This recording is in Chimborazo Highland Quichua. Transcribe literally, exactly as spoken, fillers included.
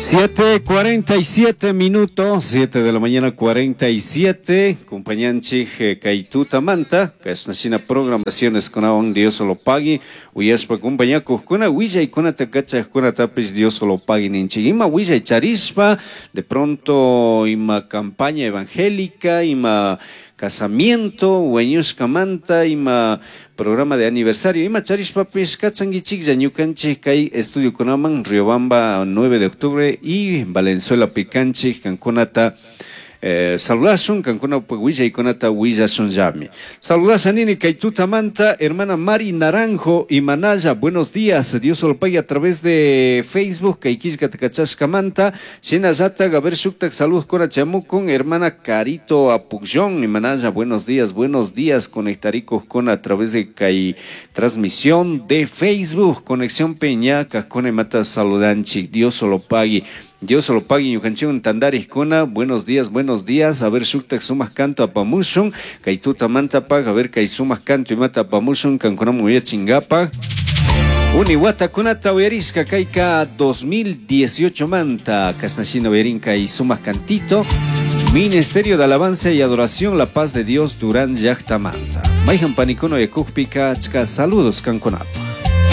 Siete cuarenta y siete minutos, siete de la mañana cuarenta y siete, compañanchik kay tutamanta, kashnashina programaciones kunawan Dios lo pagui, uyashpa compañakuqkuna, willaykunata kachaqkunatapish Dios lo pagui ninchik. Ima willay charishpa, de pronto ima campaña evangélica, ima casamiento, wañushkamanta, ima programa de aniversario, ima charishpapish kachankichiklla ñukanchik kay estudiokunaman Riobamba nueve de octubre y Valenzuela pikanchik kankunata eh, saludashun, kankunapuk willaykunata willashunllami. Saludasha nini kay tutamanta, hermana Mari Naranjo y Manaya, buenos días, Dios lo pague a través de Facebook, kay killkata kachashkamanta, shinallata, Gaber shuktak salud kona chamukun, hermana Carito Apukllón y Manaya, buenos días, buenos días, conectaricos con a través de kay transmisión de Facebook, Conexión Peñaca, con mata saludanchik, Dios lo pague. Dios lo pague, ñukanchikwan tantarikuna, buenos días, buenos días, a ver shuktak sumaq canto apamushun, kay tutamantapaq, a ver kay sumaq canto imata apamushun, kankunaman uyachinkapak. Uni watakunata uyarishka kayka dos mil dieciocho manta, kashnashina uyarin kay sumaq cantito, Ministerio de Alabanza y Adoración, La Paz de Dios, Durán Llaktamanta. Mayhan panikuna uyakukpika, achka saludos kankunapaq.